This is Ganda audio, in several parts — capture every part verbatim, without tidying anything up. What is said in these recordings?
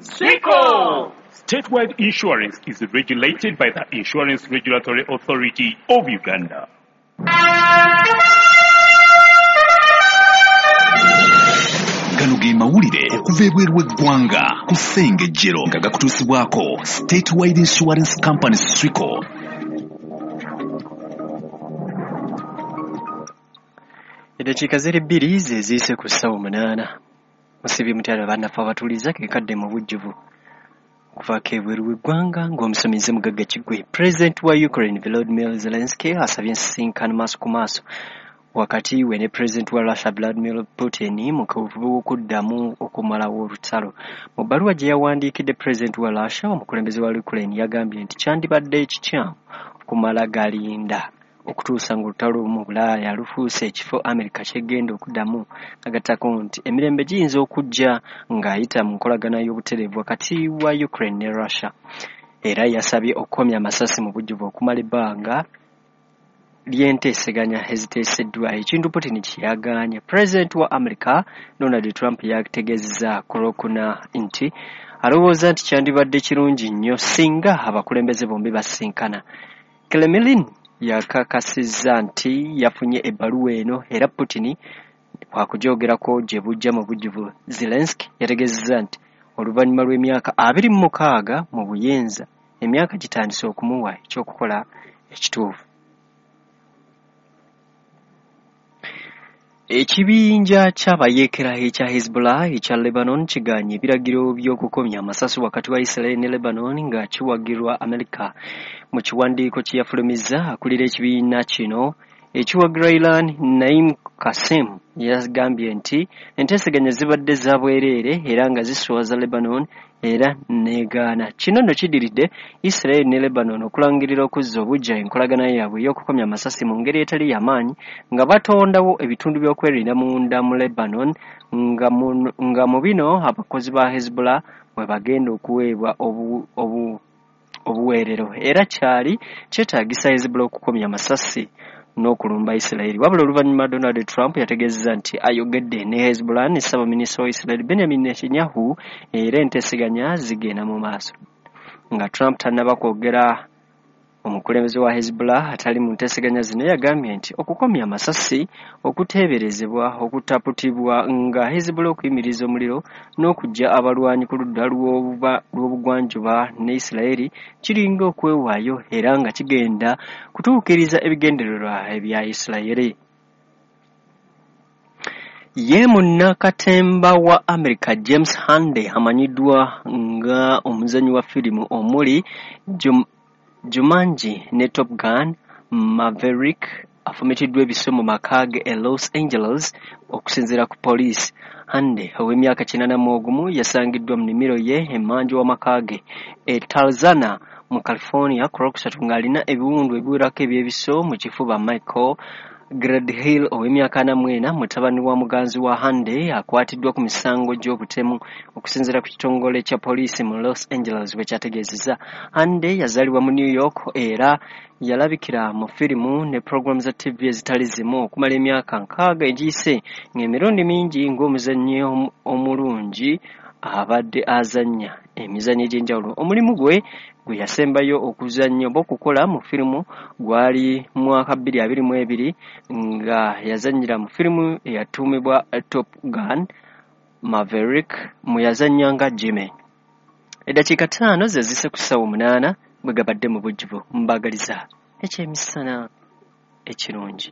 Swico! Statewide Insurance is regulated by the Insurance Regulatory Authority of Uganda. Gano ge mawulire okuva ebweru w'eggwanga ku Ssengejjero nga gakutuusibwako Statewide Insurance Company Swico. Eddakiika ziri bbiri ze ziyise ku ssaawa munaana. Musibye mutyalo bannaffe abatuuliza ke kadde mu bujjuvu okuvaako ebweru w'eggwanga ng'omusomi nze Mugagga Kiggwe. Pulezidenti wa Ukraine Volodymyr Zelensky asabye ensisinkano maaso ku maaso wakati we ne pulezidenti wa Russia Vladimir Putin mu kaweefube w'okuddamu okumalawo olutalo. Mu bbaluwa gye yawandiikidde pulezidenti wa Russia, omukulembeze wa Ukraine yagambye nti kyandibadde ekikyamu okumala galinda okutuusa ng'olutalo mu Bulaaya lufuuse ekifo Amerika ky'egenda okuddamu. Agattako nti emirembe giyinza okujja ng'ayita mu nkolagana y'obutereevu wakati wa Ukraine ne Russia. Era yasabye okukomya amasasi mu bujjuvu okumala ebbanga ly'enteeseganya eziteeseddwa, ekintu Putin kye yagaanye. Pulezidenti wa Amerika Donald Trump yategeezezza ku Lwokuna nti alowooza nti kyandibadde kirungi nnyo singa abakulembeze bombi basisinkana. Kremlin yakakasizza nti yafunye ebbaluwa eno era Putin wakugyogerako gye bujja mu bujjuvu. Zelensky yategeezezza nti oluvannyuma lw'emyaka abiri mu mukaaga mu buyinza, emyaka gitandise okumuwa ekyokukola ekituufu. Ekibinja ky'abayeekera ekya Hezbollah ekya Lebanon kigaanye ebiragiro by'okukomya amasasi wakati wa Israel ne Lebanon nga kiwagirwa Amerika. Mu kiwandiiko kye yafulumizza, akulira ekibiina kino ekiwagira Iran Naim Qassem yagambye nti enteeseganya zibadde za bwereere era nga ziswaza Lebanon era negaana. Kino nno kiddiridde Israel ne Lebanon okulangirira okuzza obuggya enkolagana yaabwe ey'okukomya amasasi mu ngeri etali y'amaanyi nga batondawo ebitundu by'okwerinda munda mu Lebanon nga mu, nga mu bino abakozi ba Hezbollah mwe bagenda okuweebwa obu, obu, obuweerero. Era kyali kyetaagisa Hezbollah okukomya amasasi n'okulumba Israel. Wabula oluvannyuma Donald Trump yategeezezza nti ayogedde ne Hezbollah ne ssaabaminisita wa Israel Benjamin Netanyahu era enteeseganya zigenda mu maaso. Nga Trump tannaba kwogera, omukulembeze wa Hezbollah atali mu nteeseganya zino yagambye nti okukomya amasasi okuteeberezebwa okutaputibwa nga Hezbollah okuyimiriza omuliro n'okuggya abalwanyi ku ludda lw'obugwanjuba ne Israel kiringa okwewaayo era nga kigenda kutuukiriza ebigendererwa ebya Israel. Ye munnakatemba wa America James Handy amanyiddwa nga omuzannyi wa firimu omuli Jum Jumanji ne Top Gun Maverick afumitiddwa ebiso mu maka ge e Los Angeles okusinziira ku poliisi. Handy ow'emyaka kinaana mu ogumu yasangiddwa mu nnimiro ye emmanju w'amaka ge e Tarzana mu California ku Lwokusatu ng'alina ebiwundu ebiwerako eby'ebiso mu kifuba. Michael Gledhill ow'emyaka ana mu ena mutabani wa muganzi wa Handy akwatiddwa ku misango gy'obutemu okusinziira ku kitongole kya poliisi mu Los Angeles bwe kyategeezezza. Handy yazaalibwa mu New York era yalabikira mu firimu ne pulogulaamu za T V ezitali zimu okumala emyaka nkaaga egiyise ng'emirundi mingi ng'omuzannyi omulungi abadde azannya emizannyo egy'enjawulo. Omulimu gwe gwe yasembayo okuzannya oba okukola mu firimu gwali mwaka bbiri abiri mu ebiri nga yazannyira mu firimu eyatuumibwa Top Gun Maverick mwe yazannya nga Jimmy. Eddakiika ttaano ze zise ku ssaawa munaana bwe gabadde mu bujjuvu. Mbaagaliza ekyemisana ekirungi.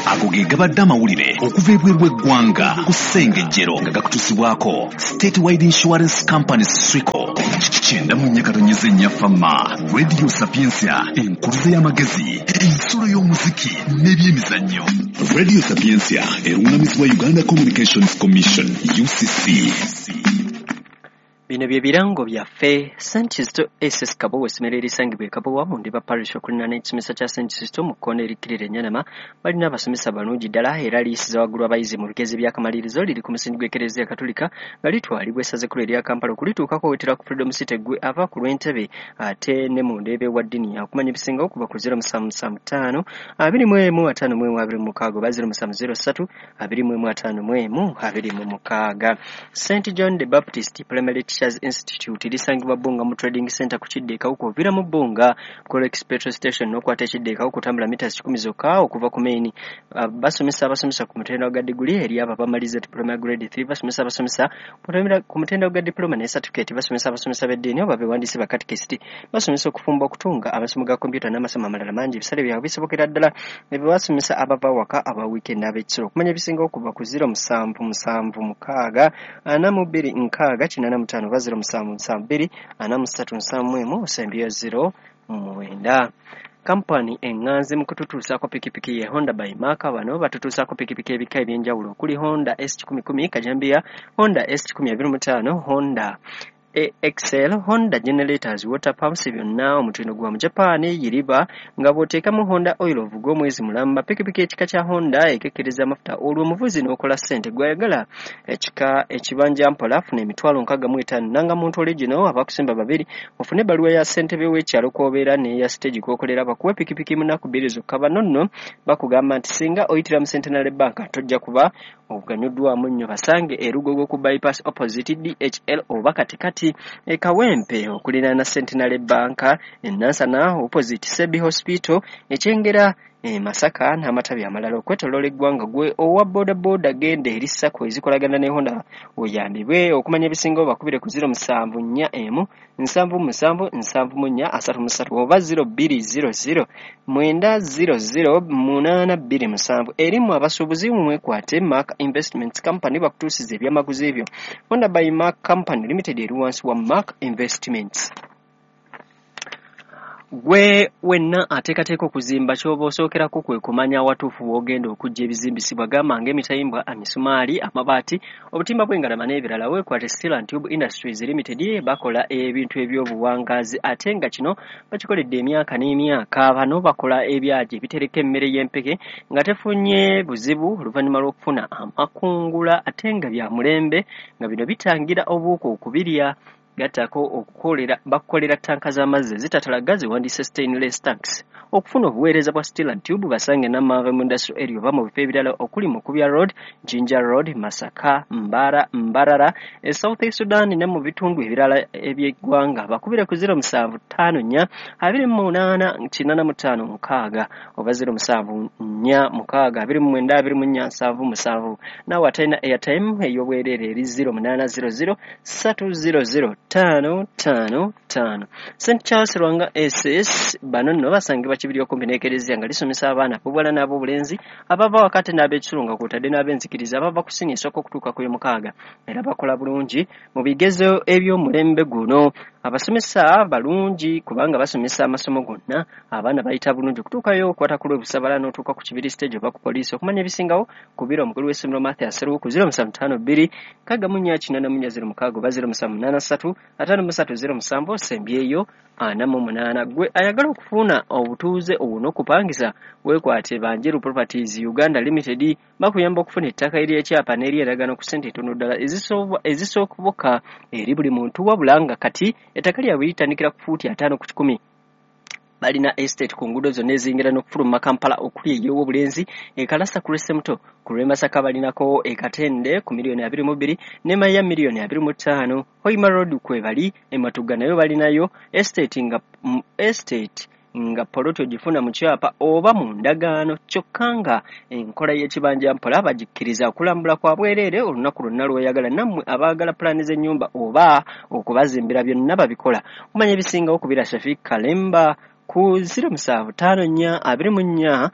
Ago ge gabadde amawulire okuva ebweru w'eggwanga ku Ssengejjero nga gakutuusibwako Statewide Insurance Company Swico. Kyenda mu nnya katonyeze nnya Fama, Radio Sapientia, enkuluze y'amagezi, ensulo y'omuziki n'ebyemizannyo. Radio Sapientia erungamizibwa Uganda Communications Commission U C C. Bino bye birango byaffe. Saint Kizito S S Kabowa, essomero erisangibwa e Kabowa mu Ndiba Parish okuliraana ekisomesa kya Saint Kizito mu kkoona erikkirira Ennyanama, balina abasomesa balungi ddala era liyisiza waggulu abayizi mu bigezi by'akamalirizo. Liri ku musingi gw'Ekereziya Katolika nga litwalibwa essaza ekkulu erya Kampala. Okulituukako wetera ku Freedom City ggwe ava ku lw'Entebe ate ne mu Ndeeba ewa Ddini. Okumanya ebisingawo kuba ku zero musanvu musanvu ttaano abiri mu emu ataano mu emu abiri mu mukaaga oba zero musanvu zero ssatu abiri mu emu ataano mu emu abiri mu mukaaga. Saint John the Baptist Primary Teachers Institute lisangibwa Bbunga mu Trading Center ku kidda e Kawuku. Oviira mu Bbunga ku Rolex Petrol Station n'okwata ekidda e Kawuku, otambula mita kikumi zokka okuva ku main. Uh, basomesa abasomesa ku mutendera gwa diguli eri abo abamaliza diploma grade three, basomesa abasomesa ku mutendera gwa diploma ne certificate, basomesa abasomesa b'eddiini oba bewandiise ba catechist, basomesa okufumba, okutunga, amasomo ga kompyuta n'amasomo amalala mangi. Ebisale byabwe bisobokera ddala ebyo basomesa abava waka, aba weekend n'ab'ekisolo. Okumanya ebisingawo kuva ku zero musanvu musanvu mukaaga ana mu bbiri nkaaga kinaana mu ttaano oba zero musanvu musanvu bbiri ana mu ssatu nsanvu mu emu osembyeyo zero mwenda. Kampani eŋŋanzi mu kututuusaako pikipiki ye Honda by Mark. Bano batutuusaako pikipiki ebika eby'enjawulo okuli Honda S kikumi kumi kajambiya, Honda S kikumi abiri mu ttaano, Honda X L, Honda generators, water pumps, byonna omutindo gwa mu Japan yiriba nga bw'oteekamu Honda oil ovuga omwezi mulamba. Pikipiki ekika kya Honda ekekkereza amafuta olwo omuvuzi n'okola ssente. Gw'ayagala ekika ekibanja mpola afuna emitwalo nkaaga mu etaano. Nanga muntu original abakusimba babiri, ofune ebbaluwa ya ssentebe w'ekyalo kw'obeera n'eya stage kw'okolera, bakuwe pikipiki mu nnaku bbiri zokka. Bano nno bakugamba nti singa oyitira mu Centenary Bank tojja kuba oganyuddwamu nnyo. Basange e Lugogo ku bypass opposite D H L oba katikati e Kawempe okuliraana Centenary Bank, e Nansana opposite Sebi Hospital, e Kyengera, e Masaka n'amatabi amalala okwetooloola eggwanga. Gwe owa boodabooda genda eri SACCO ezikolagana ne Honda oyambibwe. Okumanya ebisingawo bakubire ku zero musanvu nnya emu nsanvu musanvu nsanvu mu nnya asatu mu ssatu oba zero bbiri zero zero mwenda zero zero munaana bbiri musanvu. Erimu abasuubuzi mwekwate Mark Investments Company bakutuusiza ebyamaguzi ebyo. Honda by Mark Company Limited eri wansi wa Mark Investments. Gwe wenna ateekateeka okuzimba, ky'oba osookerako kwe kumanya awatuufu w'ogenda okuggya ebizimbisibwa, gamba ng'emitayimbwa, emisumaali, amabaati, obutimba bw'engalama n'ebirala. Weekwate Steel and Tube Industries Limited, bakola ebintu eby'obuwangaazi ate nga kino bakikoledde emyaka n'emyaka. Bano bakola ebyagi ebitereka emmere y'empeke nga tefunye buzibu oluvannyuma lw'okufuna amakungula ate nga bya mulembe, nga bino bitangira obuwuka okubirya. Gattako okukolera bakukolera ttanka z'amazzi ezitatalaga ziwandiise stainless tanks. Okufuna obuweereza bwa Steel and Tube basange Namanve mu Industrial Area oba mu bifo ebirala okuli Mukubya Road, Jinja Road, Masaka, Mbara, Mbarara, e South Sudan ne mu bitundu ebirala eby'eggwanga. Bakubire ku zero musanvu ttaano nnya abiri mu munaana kinaana mu ttaano mukaaga oba zero musanvu nnya mukaaga abiri mu mwenda abiri mu nnya nsanvu musanvu. Naawe atalina airtime ey'obwereere eri zero munaana zero zero ssatu zero zero ttaano ttaano ttaano. Saint Charles Lwanga S S bano nno basangibwa Kibiri okumpi n'ekereziya nga lisomesa abaana ab'obuwala n'ab'obulenzi abava wakati n'ab'ekisulo nga kw'otadde n'ab'enzikiriza abava ku siniya esooka okutuuka ku y'omukaaga, era bakola bulungi mu bigezo eby'omulembe guno. Abasomesa balungi kubanga basomesa amasomo gonna, abaana bayita bulungi okutuukayo okukwata ku lw'Ebusabala n'otuuka ku Kibiri stage oba ku poliisi. Okumanya ebisingawo kubira omukulu w'essomero Mathias Sseruwu ku zero musanvu ttaano bbiri nkaaga mu nnya kinaana mu nnya zero mukaaga oba zero musanvu munaana ssatu ataano mu ssatu zero musanvu osembyeyo ana mu munaana. Gwe ayagala okufuna obutuuze obwo n'okupangisa, weekwate Banjeru Properties Uganda Limited, bakuyamba okufuna ettaka ery'ekyapa n'ery'endagaano ku ssente entono ddala ezisooboka eri buli muntu, wabula nga kati ettaka lyabwe litandikira ku fuuti ataano ku kikumi. Balina estate ku nguudo zonna eziyingira n'okufuluma Kampala okuli ey'Owobulenzi, e Kalasa ku lw'Essemuto, ku lw'e Masaka balinako e Katende ku miliyoni abiri mu bbiri ne Maya miliyoni abiri mu ttaano. Hoima Road kwe bali, e Matugga nayo balinayo estate nga estate nga poloti ogifuna mu kyapa oba mu ndagaano, kyokka nga enkola y'ekibanja mpola bagikkiriza. Okulambula kwa bwereere olunaku lwonna lw'oyagala. Nammwe abaagala pulaani z'ennyumba oba okubazimbira byonna babikola. Kumanya ebisingawo kubira Shafiq Kalemba ku zero musanvu ttaano nnya abiri mu nnya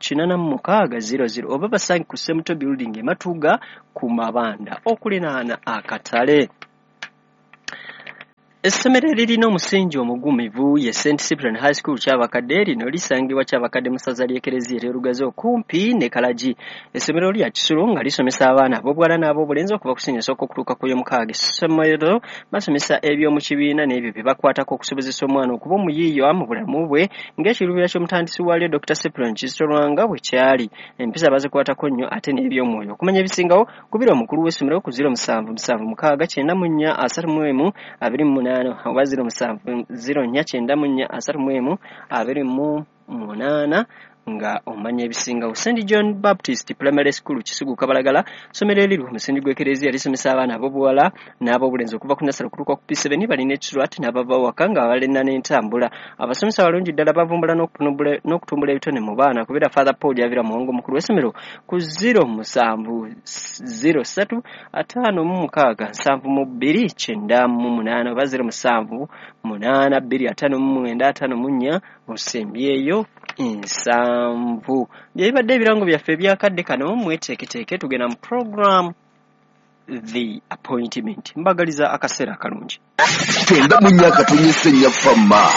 kinaana mu mukaaga zero zero oba basange ku Semuto Building e Matuga ku mabanda okulinaana akatale. Essomero eririna omusingi omugumivu ye Saint Cyprian High School Kyabakadde. Lino lisangibwa Kyabakadde mu ssaza ly'Ekereziya ery'Olugazi okumpi ne Kalagi. Essomero lya kisulo nga lisomesa abaana ab'obuwala n'ab'obulenzi okuva ku siniya esooka okutuuka ku y'omukaaga. Essomero basomesa eby'omu kibiina n'ebyo bye bakwatako okusobozesa omwana okuba omuyiiya mu bulamu bwe ng'ekiruubirwa ky'omutandisi waalyo Dokita Cyprian Kizito Lwanga bwe kyali. Empisa bazikwatako nnyo ate n'eby'omwoyo. Okumanya ebisingawo kubira omukulu w'essomero ku ziro musanvu musanvu mukaaga kyenda mu nnya asatu mu emu abiri mu munaana oba ziro musanvu ziro nnya kyenda mu nnya asatu mu emu abiri mu munaana nga omanya ebisingawo. Saint John Baptist Primary School Kisugu Kabalagala, ssomero eriri ku musingi gw'Ekereziya lisomesa abaana ab'obuwala n'ab'obulenzi okuva ku nasale okutuuka ku P seven. Balina ekisulo ate n'abava waka nga balina n'entambula. Abasomesa balungi ddala bavumbula n'okutumbula ebitone mu baana. Kubira Father Paul Javira Muwongo omukulu w'essomero ku ziro musanvu ziro ssatu ataano mu mukaaga nsanvu mu bbiri kyenda mu munaana oba ziro musanvu munaana bbiri ataano mu mwenda ataano mu nnya osembyeyo nsanvu. Byebibadde ebirango byaffe ebyakadde kano. Mweteeketeeke tugenda mu program The Appointment. Mbagaliza akaseera akalungi. Kyenda mu nnya akatonyesa ennya fama.